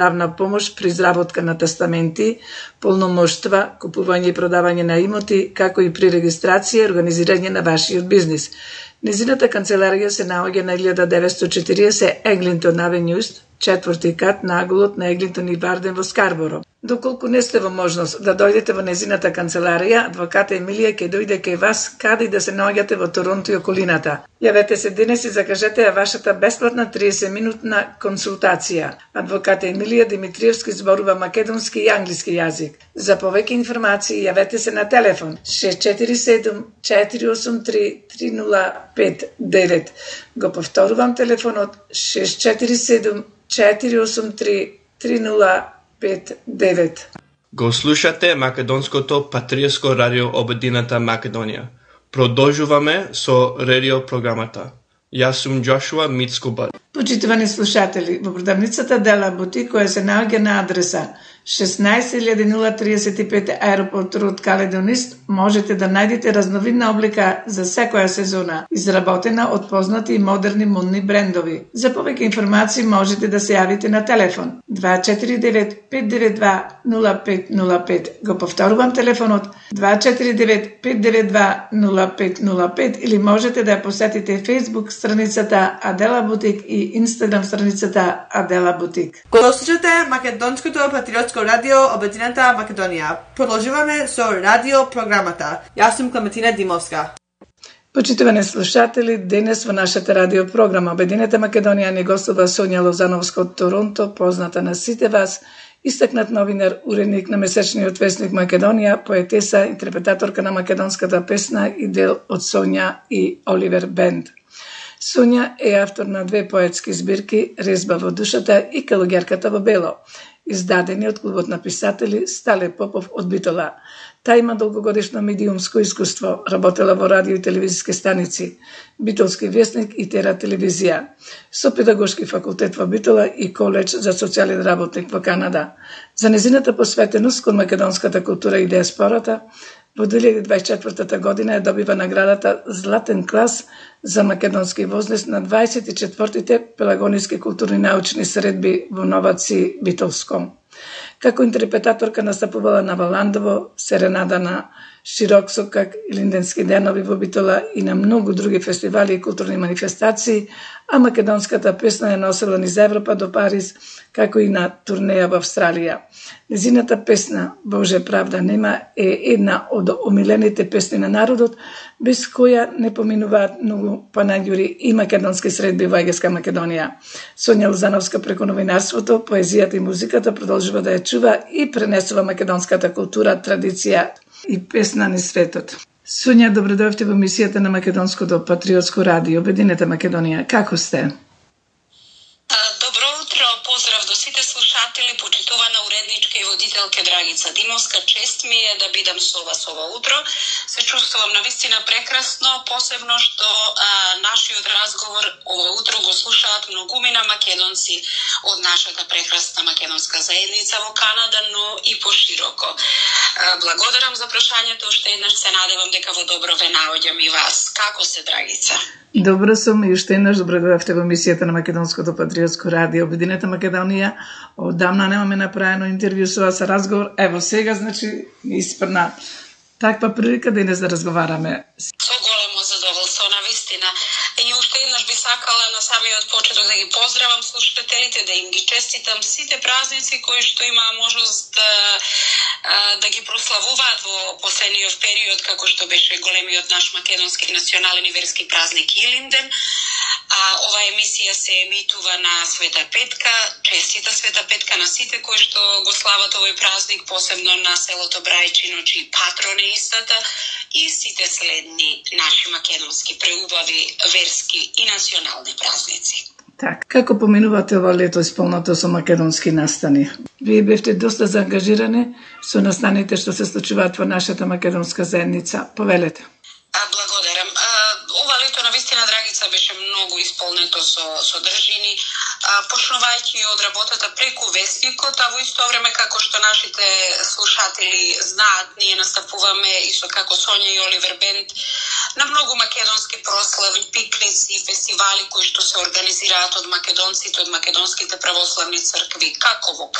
правна помош при изработка на тестаменти, полномоштва, купување и продавање на имоти, како и при регистрација и организирање на вашиот бизнис. Незината канцеларија се наоѓа на 1940 Еглинтон Авенју, 4-ти кат наголот на Еглинтон и Барден во Скарборо. Доколку не сте во можност да дојдете во незината канцеларија, адвоката Емилија ќе дојде кај вас каде и да се наоѓате во Торонто и околината. Јавете се денес и закажете ја вашата бесплатна 30-минутна консултација. Адвоката Емилија Димитриевски зборува македонски и англиски јазик. За повеќе информации јавете се на телефон 647 483 3059. Го повторувам телефонот 647 483 3059. Го слушате македонското патриотско радио Обединета Македонија. Продолжуваме со радио програмата. Јас сум Джошуа Мицкубар. Почитувани слушатели, во продавницата Дела Бутик, која се наоѓа на адреса 16035 Аеропорт Род Каледонист, можете да најдете разновидна облика за секоја сезона, изработена од познати и модерни модни брендови. За повеќе информации можете да се јавите на телефон 249-592-0505. Го повторувам телефонот 249-592-0505 или можете да ја посетите Facebook страницата Адела Бутик и Instagram страницата Адела Бутик. Го слушате македонското патриотско радио Обединета Македонија. Продолжуваме со радио програмата. Јас сум Клементина Димовска. Почитувани слушатели, денес во нашата радио програма Обединета Македонија ни гостува Сонја Лозановска од Торонто, позната на сите вас, истакнат новинар, уредник на месечниот весник Македонија, поетеса, интерпретаторка на македонската песна и дел од Сонја и Оливер Бенд. Сонја е автор на 2 поетски збирки Резба во душата и Калуѓерката во бело, издадени од клубот на писатели Стале Попов од Битола. Та има долгогодишно медиумско искуство, работела во радио и телевизиски станици, Битолски вестник и Тера телевизија, со педагошки факултет во Битола и коледж за социјален работник во Канада. За незината посветеност кон македонската култура и диаспората, во 2024 година ја добива наградата Златен клас за македонски возлес на 24-тите пелагониски културни научни средби во Новаци Битолско. Како интерпретаторка настапувала на Валандово, Серенада на Широксокак и Линденски денови во Битола и на многу други фестивали и културни манифестации, а македонската песна ја носела низ Европа до Париз, како и на турнеја во Австралија. Незината песна Боже правда нема е една од омилените песни на народот, без која не поминуваат многу панаѓури и македонски средби во Егејска Македонија. Сонја Лозановска преку новинарството, поезијата и музиката продолжува да ја чува и пренесува македонската култура, традиција и песна низ светот. Сонја, добро дојдовте во емисијата на Македонското патриотско радио Обединета Македонија. Како сте? Добро утро, поздрав до сите слушатели, почитувана уредничка и водителка Драгица Димовска. Чест ми е да бидам со вас ова утро. Се чувствувам навистина прекрасно, посебно што нашиот разговор ова утро го слушаат многумина македонци од нашата прекрасна македонска заедница во Канада, но и пошироко. Благодарам за прашањето, уште еднаш се надевам дека во добро ве наоѓам и вас. Како се, Драгица? Добро сум и уште еднаш добро дојдовте во емисијата на Македонското патриотско радио Обединета Македонија. Одамна немаме направено интервју со вас, разговор. Ево сега, значи, ми испрна таква прилика денес да разговараме. Со големо задоволство, навистина. И уште еднаш би сакала на самиот почеток да ги поздравам слушателите, да им ги честитам сите празници кои што имаа можност да ги прославуваат во последниот период, како што беше големиот наш македонски национален и верски празник Илинден. Ова емисија се емитува на Света Петка. Честита Света Петка на сите кои што го слават овој празник, посебно на селото Брајчино, чиј патрон е истата, и сите следни наши македонски преубави верски и национални празници. Так, како поминувате ова лето исполнато со македонски настани? Вие бевте доста заангажирани со настаните што се случуваат во нашата македонска заедница. Повелете. Благодарам. Ова лето навистина, Драгица, беше многу исполнето со содржини, почнувајќи од работата преку вестникот, а во исто време, како што нашите слушатели знаат, ние настапуваме и со како Сонја и Оливер Бенд на многу македонски прослави, пикници и фестивали кои што се организираат од македонците, од македонските православни цркви, како во